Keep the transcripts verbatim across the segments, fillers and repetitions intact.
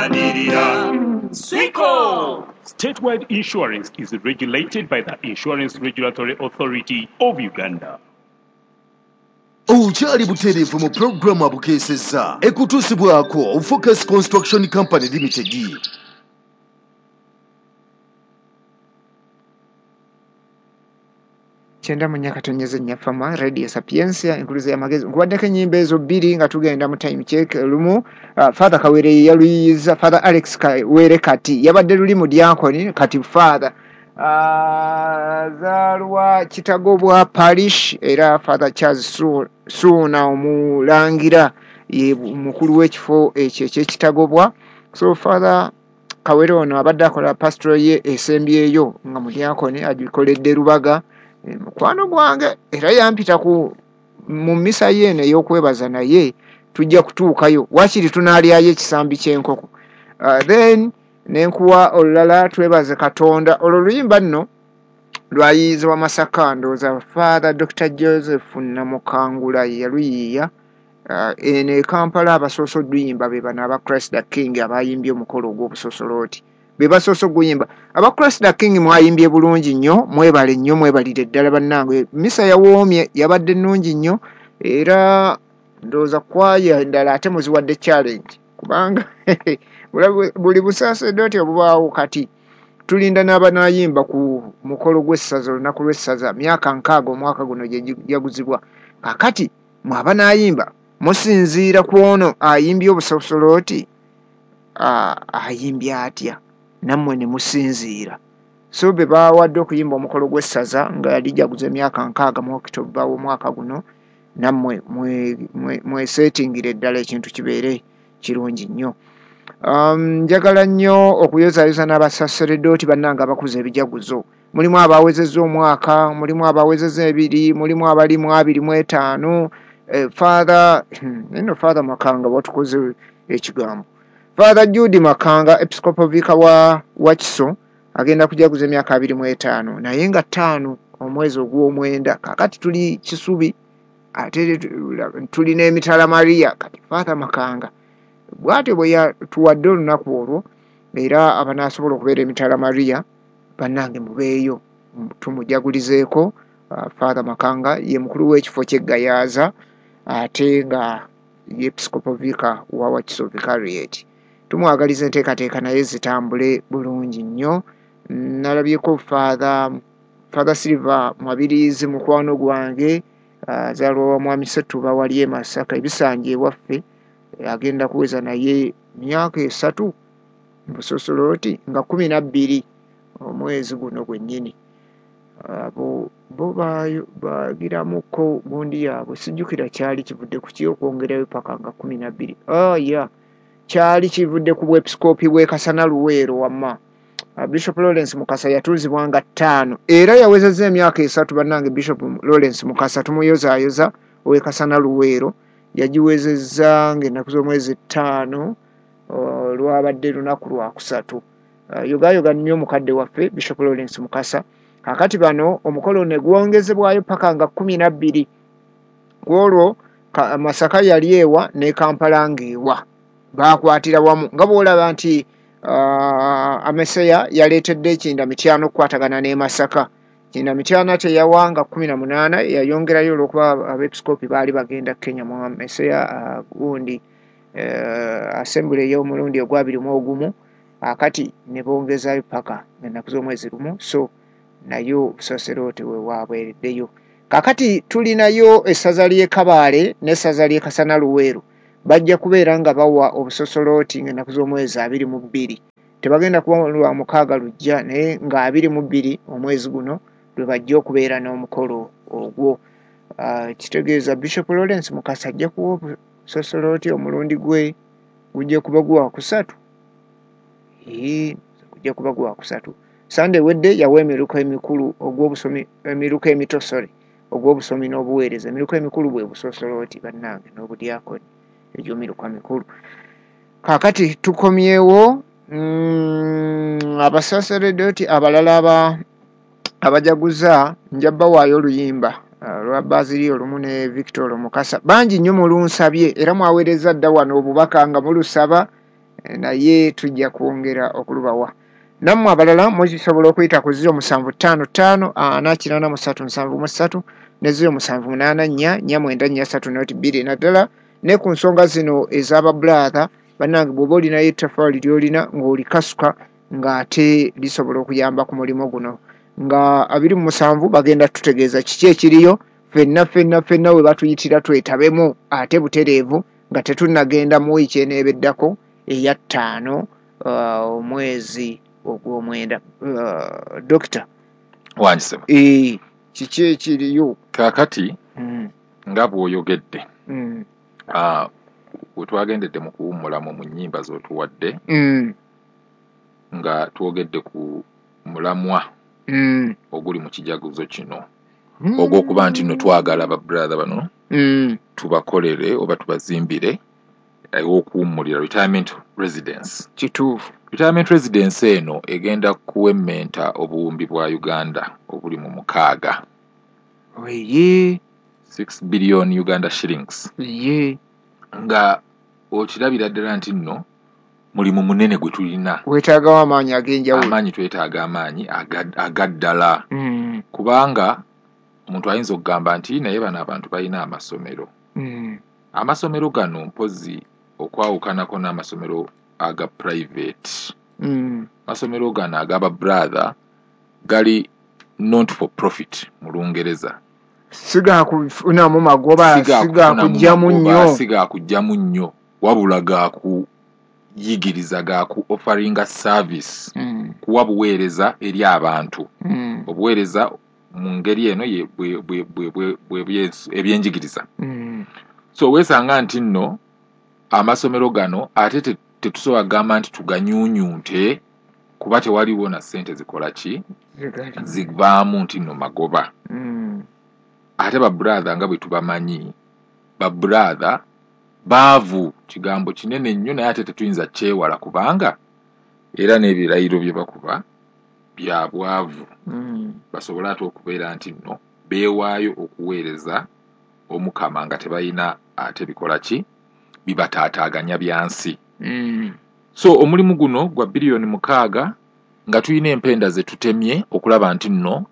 Tulwanirira Swiko. Statewide insurance is regulated by the Insurance Regulatory Authority of Uganda. Okyali butereevu mu pulogulaamu abukeesezza ekutuusibwako Focus Construction Company Limited. Kyenda mu nnya katonyeze nnya Fama Radio Sapientia enkuluze y'amagezi. Nkubaddeko ennyimba ezo bbiri nga tugenda mu time check. Lumu uh, Father Kawere yaluyiza, Father Alex Kawere kati yabadde luli mu diakoni, kati Father azaalwa uh, Kitagobwa Parish, era Father Charles Suuna omulangira ye mukulu w'ekifo ekyo eky'Ekitagobwa. So Father Kawere ono abadde akola pastoral ye esembyeyo nga mu diakoni, agikoledde Rubaga, mukwano gwange, era yampita ku mu mmisa ye eno ey'okwebaza, naye tujja kutuukayo waakiri tunaalyayo ekisambi ky'enkoko. Uh, then nenkuwa olulala twebaze Katonda. Olwo luyimba nno lwayiyizibwa Masaka, ndowooza Father Doctor Joseph Namukangula ye yaluyiiya. Uh, eno e Kampala abasoose odduyimba be bano aba Christ the King abayimbye omukolo ogw'obusosolooti, be basoose oguyimba. Aba Christ the King mwayimbye bulungi nnyo, mwebale nnyo, mwebalire ddala bannange. Misa yawoomye, yabadde nnungi nnyo, era ndowooza kwaya endala ate muziwadde challenge, kubanga buli busaasedooti obubaawo kati tulinda n'abanaayimba ku mukolo gw'essaza, olunaku lw'essaza, myaka nkaaga omwaka guno gye jaguzibwa. Kaakati mwe abanaayimba musinziira ku ono ayimbye obusosolooti, ayimbye atya, nammwe ne musinziira. So be bawadde okuyimba omukolo gw'essaza nga yali jaguza emyaka nkaaga mu Okitoba w'omwaka guno, nammwe mweseetingire ddala ekintu kibeere kirungi nnyo. Um, njagala nnyo okuyozaayoza n'abasaseredooti bannange abakuza ebijaguzo. Mulimu abawezezza omwaka, mulimu abawezezza ebiri, mulimu abali mu abiri mu etaano. Eh, Father eno Father Makanga watukoze ekigambo. Father Jude Makanga Episcopal Vicar wa Wakiso agenda kujaguza emyaka abiri mu etaano, naye nga ttaano omwezi ogw'omwenda. Kaakati tuli Kisubi ate tuli n'emitala Maria. Kati Father Makanga bw'atyo bwe yatuwadde olunaku olwo, era abanaasobola okubeera emitala Maria bannange mubeeyo tumujagulizeeko. Uh, Father Makanga ye mukulu w'ekifo ky'e Gayaza ate nga ye Episcopal Vicar wa Wakiso Vicariate. Tumwagaliza enteekateeka naye zitambule bulungi nnyo. Nalabyeko Father Father Silver Mwabirizi mukwano gwange, azaalwa uh, wa Mwami Ssetuba wali e Masaka ebisanja ewaffe, agenda kuweza naye myaka esatu busosolooti nga kumi na bbiri omwezi guno gwennyini. Abo bo bagiramuko gundi yaabwe, sijjukira kyali kivudde ku ki okwongerayo paka nga kumi na bbiri. Oh yeah, kyali kivudde ku bwepisikoopi bw'e Kasana Luweero wamma. Bishop Lawrence Mukasa yatuuzibwa nga ttaano era yawezezza emyaka esatu. Bannange Bishop Lawrence Mukasa tumuyozaayoza ow'e Kasana Luweero, yagiwezezza ng'ennaku z'omwezi ttaano lwabadde lunaku lwakusatu. Yogaayoga nnyo mukadde waffe Bishop Lawrence Mukasa. Kaakati bano omukolo ne gwongezebwayo paka nga kkumi na bbiri. Ku olwo Masaka yali ewa ne Kampala ng'ewa, baakwatira wamu nga bw'olaba nti uh, Ameseya yaleetedde ekinda mityano okukwatagana n'e Masaka. Kinda mityano teyawa nga kkumi na munaana, yayongerayo olw'okuba abeepisikoopi baali bagenda Kenya mu Ameseya uh, gundi uh, assembly ey'omulundi ogw'abiri mu ogumu, akati ne bongezaayo paka ennaku z'omwezi lumu. So nayo obusaserooti we waabwereddeyo. Kaakati tulinayo essaza ly'e Kabaale n'essaza ly'e Kasana Luweero, bajja kubeera nga bawa obusosolooti ng'ennaku z'omwezi abiri mu bbiri. Tebagenda kuba lwa mukaaga lujja, naye nga abiri mu bbiri omwezi guno lwe bajja okubeera n'omukolo ogwo. Uh, kitegeeza Bishop Lawrence Mukasa ajja kuwa obusosolooti omulundi gwe gujja kuba gwa kusatu. Ee, gujja kuba gwa kusatu. Sande wedde yawa emiruka emikulu ogw'obusomi, emiruka emito sorry, ogw'obusomi n'obuweereza. Emiruka emikulu bwe busosolooti bannange n'obudyakoni, egyo miruka mikulu. Kaakati tukomyewo mm, abasaseredooti abalala aba abajaguza nja bbawaayo oluyimba uh, lwa Bazili olumu ne Victor Mukasa. Bangi nnyo mulunsabye era mwaweereza dda wano obubaka nga mulusaba, Naye tujja kwongera okulubawa. Nammwe abalala musobola okuyita ku ziro musanvu ttaano ttaano ana kinaana mu ssatu nsanvu mu ssatu ne ziro musanvu munaana nnya nnya mwenda nnya ssatu noti bbiri, naddala ne ku nsonga zino ez'ababulatha. Bannange, bw'oba olinayo ettaffaali ly'olina ng'olikasuka ng'ate lisobola okuyamba ku mulimu guno, nga abiri mu musanvu bagenda tutegeeza kiki ekiriyo. Ffenna ffenna ffenna we batuyitira twetabemu ate butereevu nga tetunnagenda mu wiiki eneebeddako eya ttaano uh, omwezi ogw'omwenda. uh, dokita Wangisema. Ee, kiki ekiriyo? Kaakati mm. nga bw'oyogedde, mm. ah, we twagendedde mu kuwummulamu mu nnyimba z'otuwadde, mm. nga twogedde ku mulamwa mm. oguli mu kijaguzo kino, mm. ogw'okuba nti nno twagala babrother bano mm. tubakolere oba tubazimbire ew'okuwummulira, retirement residence. Kituufu. Retirement residence eno egenda kuwemmenta obuwumbi bwa Uganda obuli mu mukaaga, Ye. six billion Uganda shillings, Ye. nga okirabira ddala nti nno mulimu munene gwe tulina. Weetaagawo amaanyi ag'enjawulo. Amaanyi, twetaaga amaanyi aga- agaddala, mm. kubanga omuntu ayinza okugamba nti naye bano abantu balina amasomero. mm. Amasomero gano, mpozi okwawukanako n'amasomero aga private, mm. amasomero gano agaba brother gali not for profit mu Lungereza. Sigakufunamu magoba. Sigakugyamu nnyo. Sigakugyamu nnyo, wabula gakuyigiriza, gaku offeringa service, mm. kuwa buweereza eri abantu, mm. obuweereza mu ngeri eno ye- bwe- bwe- bwe- bwe- bwe- bye- ebyenjigiriza. mm. So weesanga nti nno amasomero gano ate te- tetusobola kugamba nti tuganyuunyunte, kuba tewaliwo na ssente zikola ki, Zigali. zivaamu nti nno magoba. mm. Ate babrother nga bwe tubamanyi, babrother baavu, kigambo kinene nnyo, naye ate tetuyinza kyewala, kubanga era n'ebirayiro bye bakuba bya bwavu, mm. basobole ate okubeera nti nno beewaayo okuweereza Omukama nga tebalina ate bikola ki bibataataaganya byansi. mm. So omulimu guno gwa biliyoni mukaaga, nga tulina empenda ze tutemye okulaba nti nno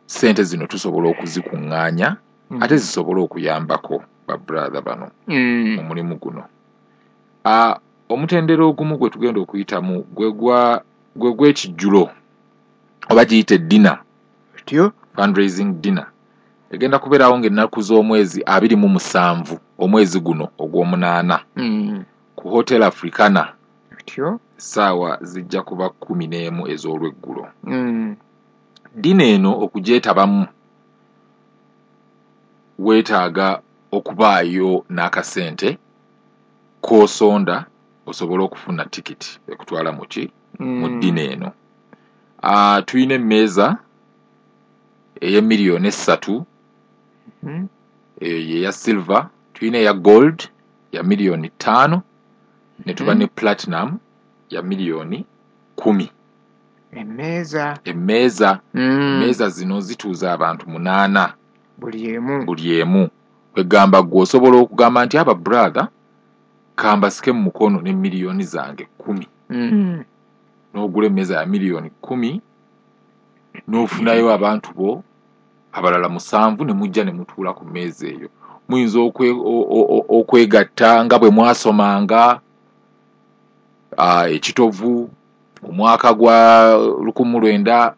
ssente zino tusobola okuzikuŋŋaanya, Mm. ate zisobole okuyambako babrother bano mm. mu mulimu guno. Ah, omutendera ogumu gwe tugenda okuyitamu gwe gwa gwe gw'ekijjulo oba giyite dinner, Otyo. fundraising dinner, egenda kubeerawo ng'ennaku z'omwezi abiri mu musanvu omwezi guno ogw'omunaana mm. ku Hotel Africana. Otyo. Essaawa zijja kuba kkumi n'emu ez'olweggulo. mm. Dinner eno okugyetabamu weetaaga okubaayo n'akasente k'osonda osobole okufuna tikiti ekutwala mu ki, mu mm. dinner eno. Ah, tulina emmeeza ey'emiliyoni essatu, Mm. eyo yeya silver, tulina eya gold ya miliyoni ttaano, ne tuba Mhm. ne platinum ya miliyoni kumi. Emmeeza. Emmeeza. mm. Emmeeza zino zituuza abantu munaana Buli emu. Buli emu. Kwegamba gwe osobola okugamba nti aba brother kambasike mu mukono ne miliyoni zange kumi, mm. n'ogula emmeeza ya miliyoni kumi n'ofunayo abantu bo abalala musanvu ne mujja ne mutuula ku mmeeza eyo. Muyinza okwe- o- o- o- okwegatta nga bwe mwasomanga ah, ekitovu mu mwaka gwa lukumu lwenda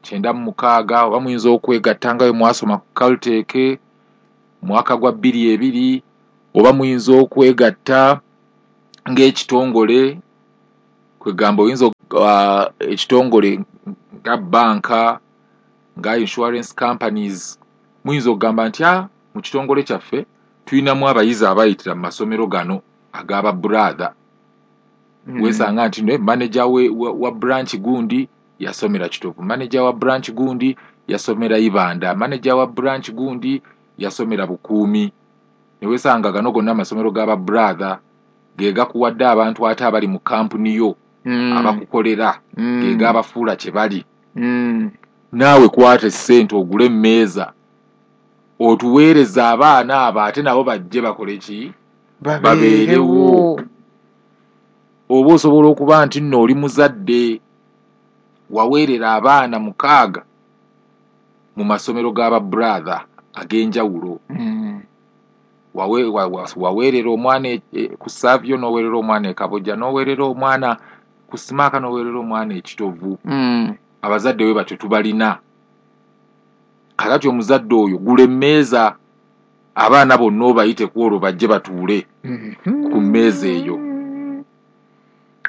kyenda mu mukaaga, oba muyinza okwegatta nga bwe mwasoma ku Caltech mu mwaka gwa bbiri ebiri, oba muyinza okwegatta ng'ekitongole, kwegamba oyinza uh, ekitongole nga banka, nga insurance companies, muyinza okugamba nti ah, mu kitongole kyaffe tulinamu abayizi abayitira mu masomero gano ag'aba brother. Mm. Weesanga nti ne manager we, wa, wa branch gundi yasomera Kitovu, manager wa branch gundi yasomera Ibanda, manager wa branch gundi yasomera Bukuumi, ne weesanga gano gonna amasomero g'aba brother ge gakuwadde abantu ate abali mu kampuni yo, Mm. abakukolera, Mm. ge gabafuula kye bali. Mm. Naawe kwata essente ogule emmeeza otuweereza abaana abo, ate nabo bajje bakole ki? Babeerewo. Oba osobola okuba nti nno oli muzadde waweerera abaana mukaaga mu masomero g'aba brother ag'enjawulo. Mm. Wawe, wa, wa, waweerera omwana e, e, ku Savio, n'oweerera omwana e Kabojja, n'oweerera omwana ku Simaaka, n'oweerera omwana e Kitovu. Mm. Abazadde we batyo tubalina. Kakati omuzadde oyo gula emmeeza abaana bonna obayite ku olwo bajje batuule mm-hmm. ku mmeeza eyo.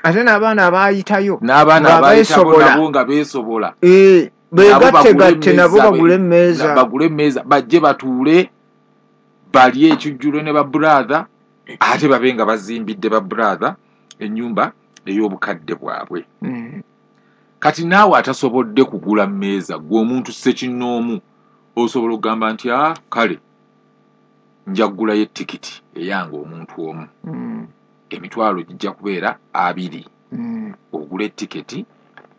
Ate n'abaana abaayitayo n'abaana nga abaayitabo beesobola. nabo nga beesobola. Eh, Nabo beegattegatte bagule nabo emmeeza, bagule emmeeza. bagule emmeeza bajje batuule balye ekijjulo ne ba brother, ate babe nga bazimbidde ba brother ennyumba ey'obukadde bwabwe. Mm. Kati naawe atasobodde kugula mmeeza, ggwe omuntu ssekinnoomu osobola okugamba nti ah, kale nja kugulayo ettikiti eyange omuntu omu. Mm. Emitwalo gijja kubeera abiri. Mm. Ogule ettiketi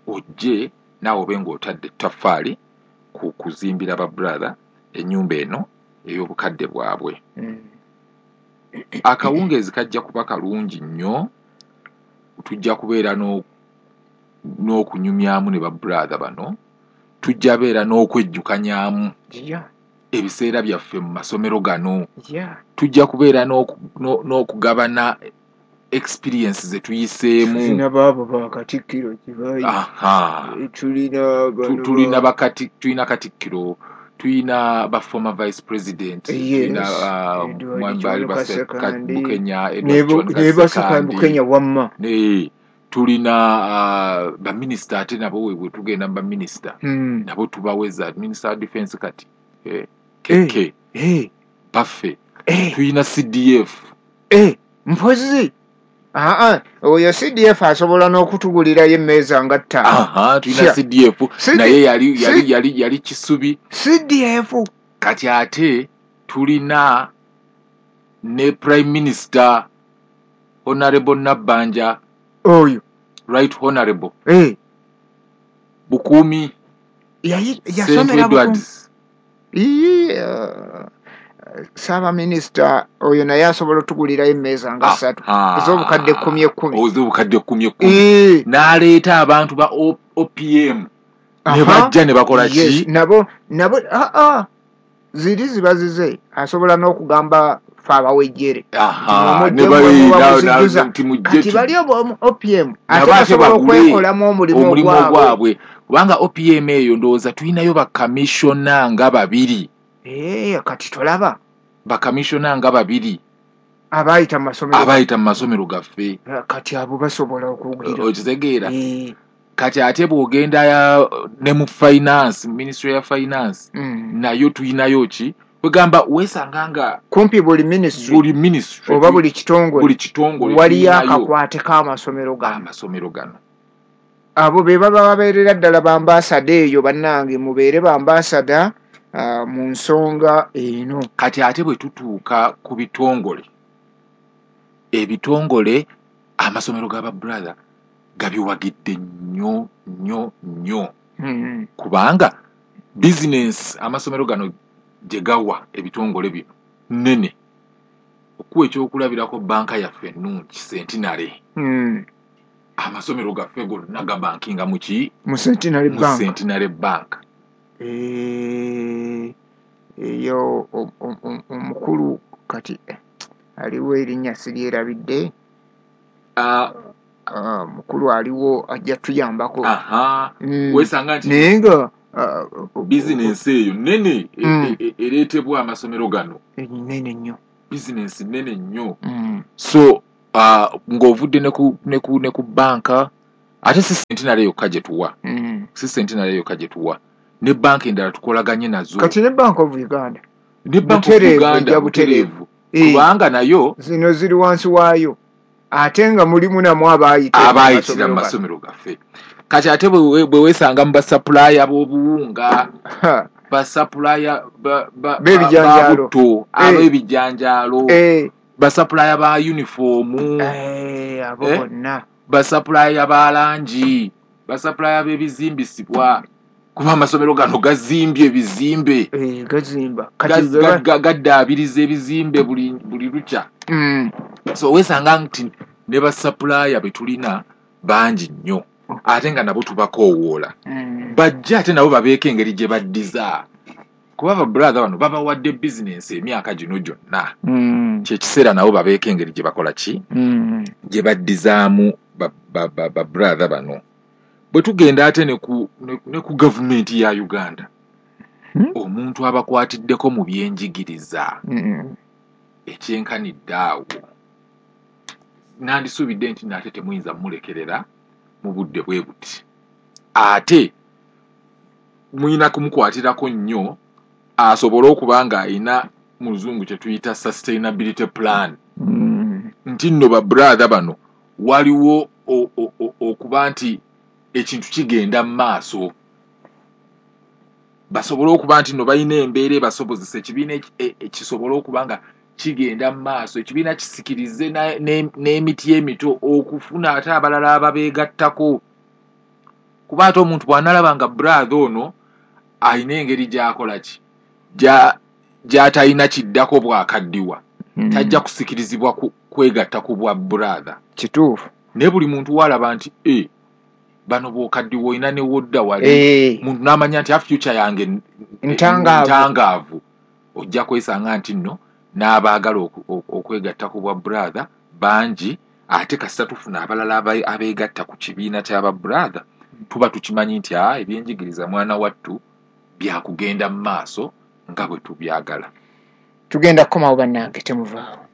ojje naawe obe ng'otadde ettaffaali ku kuzimbira ba brother ennyumba eno ey'obukadde bwabwe. Mm. Akawungeezi kajja kuba kalungi nnyo, tujja kubeera n'o-, n'okunyumyamu ne ba brother bano, tujja beera n'okwejjukanyaamu Yeah. ebiseera byaffe mu masomero gano. Yeah. Tujja kubeera n'oku-, n'o-, n'okugabana experience ze tuyiseemu. Tulina baabo ba Katikkiro gye bayi. Aha. Eh, tulina bano Tu-, tulina ba- bakati-, tulina Katikkiro, tulina ba former vice president, Yes. tulina, uh, Edward Mwami John Bali Baseka Kasekandi. Bukenya, Edward Ne bu-, John ne Baseka Kasekandi. Bukenya wamma. Ne, tulina, uh, ba minister ate nabo we, we tugenda mu ba minister. Hmm. Nabo tubaweza minister of defense kati. Eh, Eh, K K. eh. Baffe. Eh. Tulina C D F. Eh, mpozi. Aa, oyo C D F asobola n'okutugulirayo emmeeza nga ttaano. Aha, tulina Sure. C D F. C D Naye yali, yali, C yali, yali Kisubi. C D F. Kati ate tulina ne Prime Minister Honorable Nabbanja. Oyo. Right Honorable. Eh. Bukuumi. Yayi, Saint yasomera Bukuumi. Edwards. Ii, uh, Ssaabaminisita oyo naye asobola otugulirayo emmeeza nga Ah, ssatu. ah. Ez'obukadde ekkumi ekkumi. Ez'obukadde ekkumi ekkumi. Eh. N'aleeta abantu ba O-, O P M. Ne Aha. bajja ne bakola ki? Yes, nabo, nabo, ah, ah. Ziri ziba zize. Asobola n'okugamba ffe abawejjere. Aha, Nti ne mujje bali, mwe na, na, muzijjuza. nti mujje Kati tu- bali obo O P M, ate Nabo ate basobola bagule okwekolamu omulimu omulimu ogwabwe. ogwabwe. Kubanga O P M eyo ndowooza tulinayo bakamishona nga babiri. Eh, kati tolaba. Bakamishona nga babiri. Abayita mu masomero. Abayita mu masomero gaffe. Eh, kati abo basobola okugira. Okitegeera? Eh. Kati ate bw'ogenda ya, ne mu finance, ministry ya finance, Mm. nayo tulinayo ki? Kwegamba weesanga nga kumpi buli ministry, buli ministry, oba buli kitongole, buli kitongole waliyo tulinayo akakwate k'amasomero gano. Amasomero gano. Abo be baba babeerera ddala bambasada eyo, bannange mubeere bambasada, ah, mu nsonga eno. Kati ate bwe tutuuka ku bitongole, ebitongole amasomero g'aba brother gabiwagidde nnyo nnyo nnyo. Mm-hmm. Kubanga business amasomero gano gye gawa ebitongole bino nnene. Okuwa ekyokulabirako banka yaffe ennungi Centenary. Mm. Amasomero gaffe gonna gabankinga mu ki? Mu Centenary Mu Bank. Centenary Bank. Eh, eyo o-, o-, o-, omukulu kati, eh, aliwo erinnya siryerabidde. Ah. Ah, mukulu aliwo ajja tuyambako. Aha. Mm. Weesanga nti Naye nga, ah, bizinensi eyo nnene e-, Mm. e-, ereetebwa amasomero gano. Eh, nnene nnyo. Bizinensi nnene nnyo. Mm. So, ah, ng'ovudde ne ku, ne ku, ne ku banka, ate si Centenary yokka gye tuwa. Mm. Si Centenary yokka gye tuwa. Ne banka endala tukolaganye nazo. Kati ne Bank of Uganda. Ne Bank of Butereevu, Uganda, ejja butereevu. butereevu. Eh. Kubanga nayo zino ziri wansi waayo. Ate nga mulimu namwe abaayitira mu Abaayitira mu masomero masomero gaffe. Kati ate bwe, bwe weesanga mu basupplier b'obuwunga, Ha. basupplier ba, ba, ba, B'ebijanjaalo. ba butto, Eh. ab'ebijanjaalo, Eh. basupplier ba uniform, Eh, abo Eh. bonna. basupplier ba langi, basupplier b'ebizimbisibwa. Kuba amasomero gano gazimbye ebizimbe. Eh, gazimba. Kati Gaz-, bwe ba- ga-, gaddaabiriza ebizimbe buli, buli lukya. Mm. So weesanga nti Ne basupplier be tulina bangi nnyo, ate nga nabo tubakoowoola Mm. bajja, ate nabo babeeko engeri gye baddiza, kuba ba brother bano babawadde bizinensi emyaka gino gyonna. Mm. Kyekiseera nabo babeeko engeri gye bakola ki, Mm. gye baddizaamu ba, ba, ba, ba brother bano. Bwe tugenda ate ne ku, ne, ne ku gavumenti ya Uganda, Hmm? omuntu abakwatiddeko mu byenjigiriza Mm. ekyenkanidde awo, nandisuubidde nti nate temuyinza mumulekerera mu budde bwe buti, ate muyina kumukwatirako nnyo asobole okuba nga ayina mu luzungu kye tuyita sustainability plan. Mm. Nti nno ba brother bano waliwo o- o- o- okuba nti ekintu kigenda mu maaso, basobole okuba nti nno balina embeera ebasobozesa ekibiina eki- e- e- kisobole okuba nga kigenda mu maaso, ekibiina kisikirize na- ne- n'emiti emito okufuna ate abalala ababeegattako. Kuba ate omuntu bw'analaba nga brother ono alina engeri gy'akola ki, gya- gy'atalina kiddako bw'akaddiwa, Mm. tajja kusikirizibwa ku- kwegatta ku bwa brother. Kituufu. Naye buli muntu walaba nti e bano bw'okaddiwa olina ne wodda wali, Eh, muntu n'amanya nti a future yange n- Ntangaavu. ntangaavu, ojja kwesanga nti nno n'abaagala oku- oku- okwegatta ku bwa brother bangi. Ate kasita tufuna abalala aba- abeegatta ku kibiina ky'aba brother, tuba tukimanyi nti a ebyenjigiriza mwana wattu byakugenda mu maaso nga bwe tubyagala. Tugenda kukomawo bannange, temuvaawo.